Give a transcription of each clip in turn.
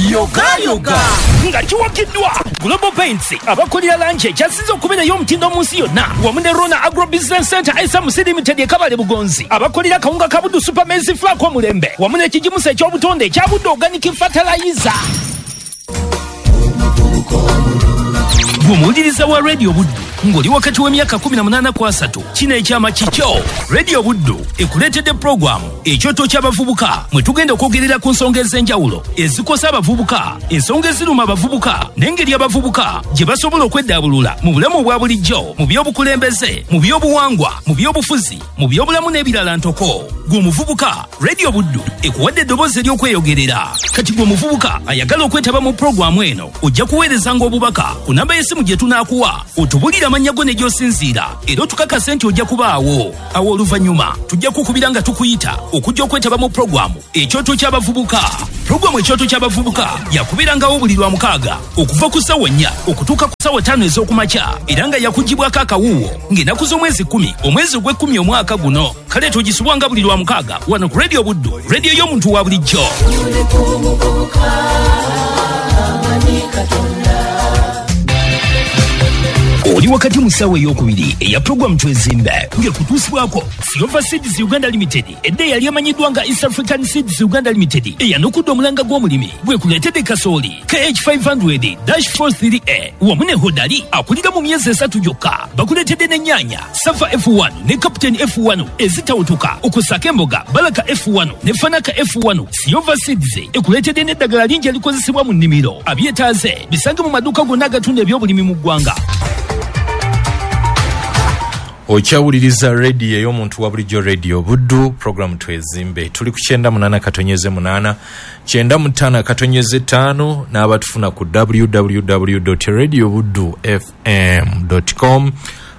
Yogayoga nga kiwagiddwa Global Paints, abakolera langi ekyasinze okubeera ey'omutindo mu nsi yonna, wamu ne Rona Agro Business Center SMC Limited e Kabale Bugonzi, abakolera kawunga ka Buddu Super Maize Flour omulembe, wamu n'ekigimusa eky'obutonde ekya Buddu Organic Fertilizer. Gwe wa Radio Buddu ng'oli wakati w'emyaka 18 ku 30, kino ekyama kikyo. Radio Buddu ekuleetedde pulogulaamu Ekyoto ky'Abavubuka, mwe tugenda okwogerera ku nsonga ez'enjawulo ezikosa abavubuka, ensonga eziruma abavubuka, n'engeri abavubuka gye basobola okweddaabulula mu bulamu obwa bulijjo, mu by'obukulembeze, mu by'obuwangwa, mu by'obufuzi, mu by'obulamu n'ebirala ntoko. Gwe omuvubuka, Radio Buddu ekuwadde eddoboozi ery'okweyogerera. Kati gwe omuvubuka ayagala okwetaba mu pulogulaamu eno, ojja kuweerezanga obubaka ku namba y'essimu gye tunaakuwa, otubulire amannya go ne gy'osinziira, era otukakase nti ojja kubaawo. Awo oluvannyuma tujja kukubira nga tukuyita okujja okwetaba mu pulogulaamu Ekyoto ky'Abavubuka. Pulogulaamu Ekyoto ky'Abavubuka yakubeerangawo buli lwa mukaaga okuva ku ssaawa 4 okutuuka ku ssaawa 5 ez'okumakya, era nga yakugibwako akawuuwo ng'ennaku z'omwezi 10 omwezi ogw'ekkumi omwaka guno. Kale togisubwanga buli lwa mukaaga wano ku Radio Buddu, radio y'omuntu wa bulijjo. Oli wakati mu ssaawa ey'okubiri eya pulogulaamu Twezimbe, ng'ekutuusibwako Silver Seeds Uganda Limited, edda eyali emanyiddwa nga East African Seeds Uganda Limited, eyanukudde omulanga gw'omulimi gwekuleetedde kasooli KH500-43A wamu ne Hodari akulira mu myezi 3 gyokka. Bakuleetedde n'ennyaanya Safa F1 ne Captain F1 ezitawutuka, okussaako emboga Baraka F1 ne Fanaka F1. Silver Seeds ekuleetedde n'eddagala lingi erikozesebwa mu nnimiro. Abyetaaze bisange mu maduuka gonna agatunda ebyobulimi mu ggwanga. Okyawuliriza rediyo ey'omuntu wa bulijjo, Radio Buddu, programu Twezimbe. Tuli ku 98.8, 95.5, n'abatufuna ku www.radiobuddu fm.com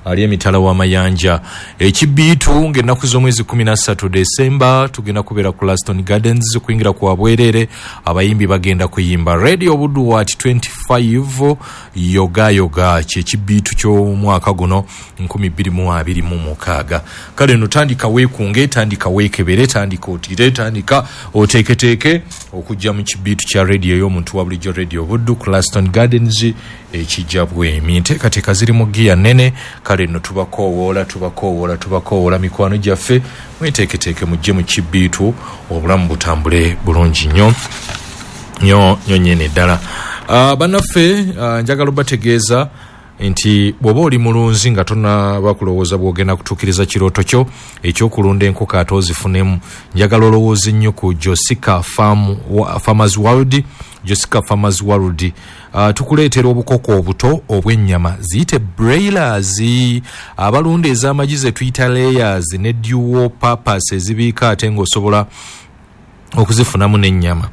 ali emitala w'amayanja. Ekibiitu ng'ennaku z'omwezi 13 Desemba tugenda kubeera ku Laston Gardens, kuyingira ku wabwereere, abayimbi bagenda kuyimba. Radio Buddu wat 25 yoga yoga kyekibiitu ky'omwaka guno 2026. Kale no tandika weekunge, tandika weekebere, tandika otire, tandika oteeketeeke okujja mu kibiitu kya radio y'omuntu wa bulijjo, Radio Buddu ku Laston Gardens ekijja bwemi. Enteekateeka ziri mu giya nnene. Kale nno tubakoowoola, tubakoowoola, tubakoowoola mikwano gyaffe, mweteeketeeke mujje mu kibiitu, obulamu butambule bulungi nnyo nnyo nnyo nnyini ddala. Bannaffe, njagala obategeeza nti bw'oba oli mulunzi nga tonaba kulowooza bw'ogenda kutuukiriza kirooto kyo ekyokulunda enkoko ate ozifunemu, njagala olowooze nnyo ku Josica Farmers World. Josica Farmers World, tukuleetera obukoko obuto obw'ennyama ziyite broilers, abalunda ez'amagi ze tuyita layers ne dual purpose ezibiika ate ng'osobola okuzifunamu n'ennyama.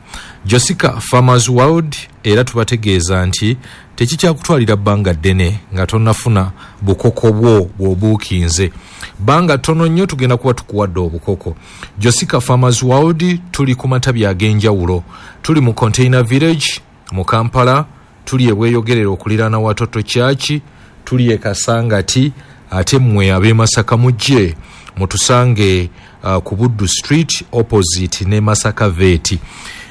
Josica Farmers World era tubategeeza nti tekikyakutwalira bbanga ddene nga tonnafuna bukoko bwo bw'obuukinze. Bbanga ttono nnyo tugenda kuba tukuwadde obukoko. Josica Farmers World tuli ku matabi ag'enjawulo. Tuli mu Container Village mu Kampala, tuli e Bweyogerere okuliraana Watoto Church, tuli e Kasangati, ate mmwe ab'e Masaka mujje mutusange ku Buddu Street opposite ne Masaka Vet.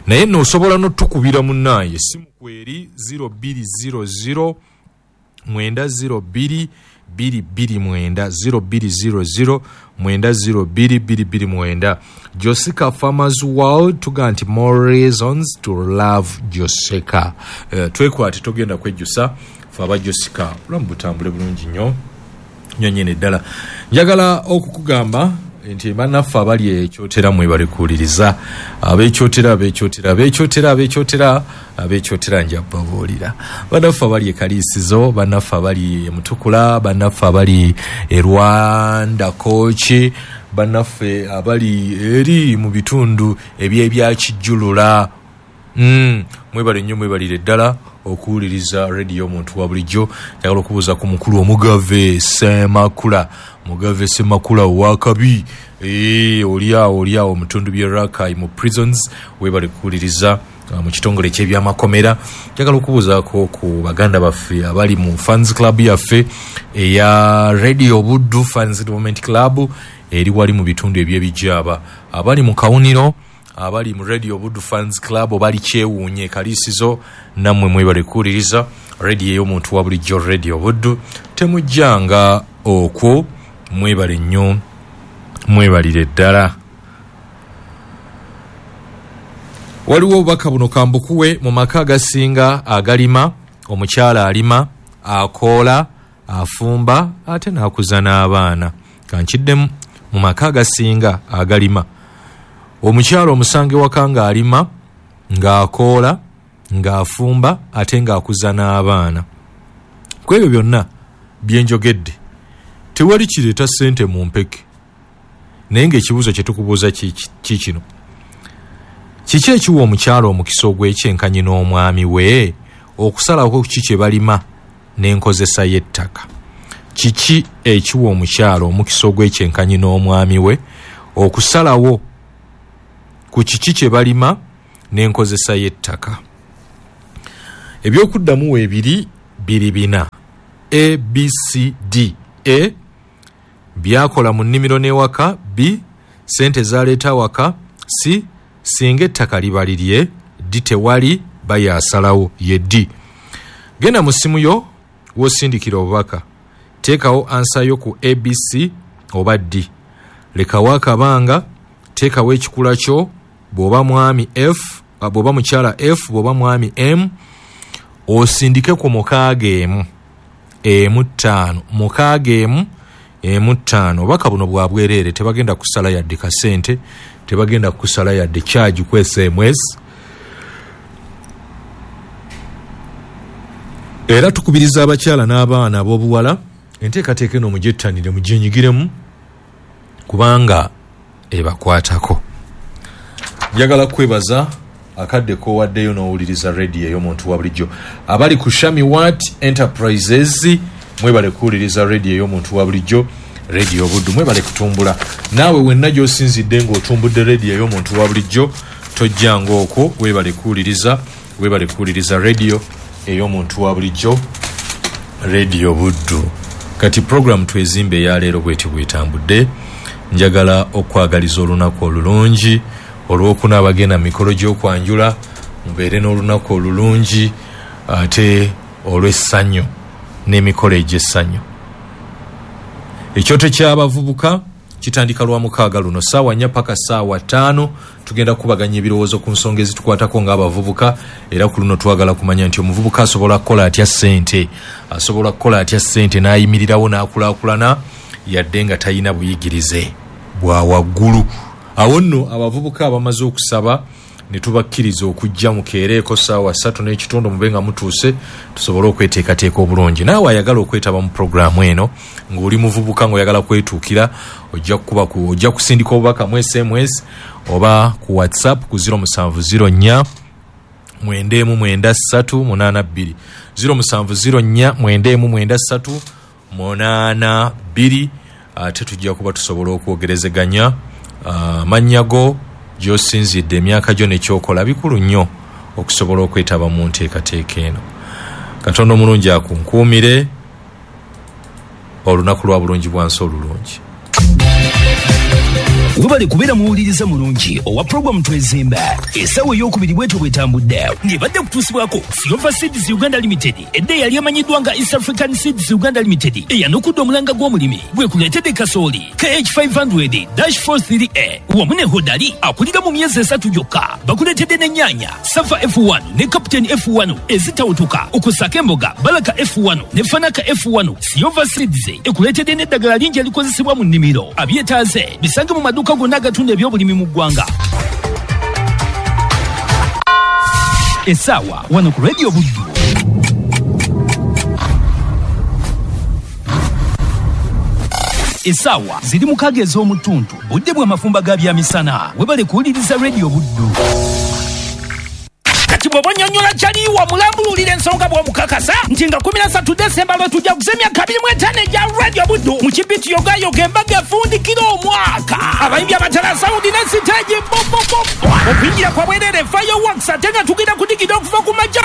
Naye nno osobola n'otukubira munnaaye, essimu kweri 0200 902 229, 0200 902 229. Josica Farmers World tuga nti more reasons to love Josica. Twekwate, togenda kwejjusa. Fe aba Josica, obulamu butambule bulungi nnyo nnyo nnyini ddala. Njagala okukugamba nti bannaffe abali ekyotera mwebale kuwuliriza. Abekyotera, abekyotera, abekyotera, abekyotera, abekyotera, nja babuulira. Bannaffe abali e Kaliisizo, bannaffe abali e Mutukula, bannaffe abali e Rwanda Kooki, bannaffe abali eri mu bitundu eby'ebyakijjulula, mwebale nnyo, mwebalire ddala okuwuliriza rediyo omuntu wa bulijjo. Njagala okubuuza ku mukulu Omugave Semakula, Mugave Semakula owakabi, oli awo, oli awo mu bitundu by'e Rakai mu prisons, webale kuwuliriza mu kitongole eky'ebyamakomera. Njagala okubuuzaako ku baganda baffe abali mu fans club yaffe eya Radio Buddu Fans Development Club eri wali mu bitundu eby'ebijaaba, abali mu Kawuniro, Abali mu Radio Buddu Fans Club bali kyewuunye Kaliisizo, nammwe mwebale kuwuliriza radio ey'omuntu wa bulijjo, Radio Buddu. Temujjanga okwo, mwebale nnyo, mwebalire ddala. Waliwo obubaka buno kambukuwe. Mu maka agasinga agalima, omukyala alima, akoola, afumba ate n'akuza n'abaana. Kankiddemu, mu maka agasinga agalima, omukyala omusange waka ng'alima, ng'akoola, ng'afumba ate ng'akuza n'abaana. Ku ebyo byonna byenjogedde tewali kireeta ssente mu mpeke. Naye ng'ekibuuzo kye tukubuuza kikino: kiki ekiwa omukyala omukisa ogw'ekyenkanyi n'omwami we okusalako ki kye balima n'enkozesa y'ettaka? Kiki ekiwa omukyala omukisa ogw'ekyenkanyi n'omwami we okusalawo ku kiki kye balima n'enkozesa y'ettaka? Ebyokuddamu weebiri biri bina: A, B, C, D. A, byakola mu nnimiro n'ewaka. B, ssente zaleeta awaka. C, singa ettaka liba lirye. D, tewali bayaasalawo ye D. Genda mu ssimu yo w'osindikira obubaka, teekawo ansa yo ku ABC oba D. Lekawo akabanga, teekawo ekikula kyo, bw'oba mwami F, bw'oba mukyala F, bw'oba mwami M, osindike ku 6 1 5 6 1 5. Obubaka buno bwa bwereere, tebagenda kusala yadde kasente, tebagenda kusala yadde charge ku SMS. Era tukubiriza abakyala n'abaana ab'obuwala enteekateeka eno mugyettanire, mugyenyigiremu kubanga ebakwatako. Njagala kwebaza akadde k'owaddeyo n'owuliriza rediyo ey'omuntu wa bulijjo. Abali ku Shami Wat Enterprises mwebale kuwuliriza rediyo ey'omuntu wa bulijjo, Radio Buddu. Mwebale kutumbula. Naawe wenna gy'osinzidde ng'otumbudde rediyo ey'omuntu wa bulijjo, tojjanga okwo. Webale kuwuliriza, webale kuwuliriza rediyo ey'omuntu wa bulijjo, Radio Buddu. Kati program twezimbe eyaleero bweti bwetambudde. Njagala okwagaliza olunaku olulungi. Olwokuna abagenda mikolo gy'okwanjula, mubeere n'olunaku olulungi ate olw'essanyu n'emikolo egy'essanyu. Ekyoto ky'abavubuka kitandika lwa mukaaga luno 4:00 paka 5:00. Tugenda kubaganya ebirowoozo ku nsonga ezitukwatako ng'abavubuka. Era ku luno twagala kumanya nti omuvubuka asobola kukola atya ssente, asobola kukola atya ssente n'ayimirirawo n'akulaakulana yadde nga talina buyigirize bwa waggulu. Awo nno abavubuka abamaze okusaba ne tubakkiriza okujja mukeereeko 3:15 mube nga mutuuse, tusobole okweteekateeka obulungi. Naawe ayagala okwetaba mu puroguraamu eno ng'oli muvubuka ng'oyagala kwetuukira, ojja kusindika obubaka mu SMS oba ku WhatsApp ku 0704 993 82, 0704 993 82. Ate tujja kuba tusobola okwogerezeganya. Amannya go, gy'osinzidde, emyaka gyo nekyokola bikulu nnyo okusobola okwetaba mu nteekateeka eno. Katonda omulungi akunkuumire olunaku lwa bulungi bwansi olulungi. Webale kubeera muwuliriza mulungi owa puroguramu Twezimba. Essaawa ey'okubiri bwetyo bwetambudde ng'ebadde kutuusibwako Silver Seeds Uganda Limited, edda eyali emanyiddwa nga East African Seeds Uganda Limited, eyanukudde omulanga gw'omulimi gwekuleetedde kasooli KH500-43A wamu ne Hodari akulira mu myezi 3 gyokka. Bakuleetedde n'ennyaanya Safa F1 ne Captain F1 ezitawutuka, okussaako emboga Baraka F1 ne Fanaka F1. Silver Seeds ekuleetedde n'eddagala lingi erikozesebwa mu nnimiro. Abyetaaze bisange mu maduuka gonna agatunda ebyobulimi mu ggwanga. Essaawa wano ku Radio Buddu. Essaawa ziri 6 ez'omutuntu, budde bw'amafumba ga byamisana. Webale kuwuliriza Radio Buddu. Kati bw'oba onnyonnyola kyaliwa mulambululira ensonga bw'omukakasa nti nga 13 Desemba lwe tujja kuza emyaka 25 egya Radio Buddu mu kibiti yogayoga embaga efundikira omwaka. Abayimbi abatala sawundi ne siteegi bobobobo. Okuyingira kwa bwereere fireworks ate nga tugenda kudigida okuva ku majja.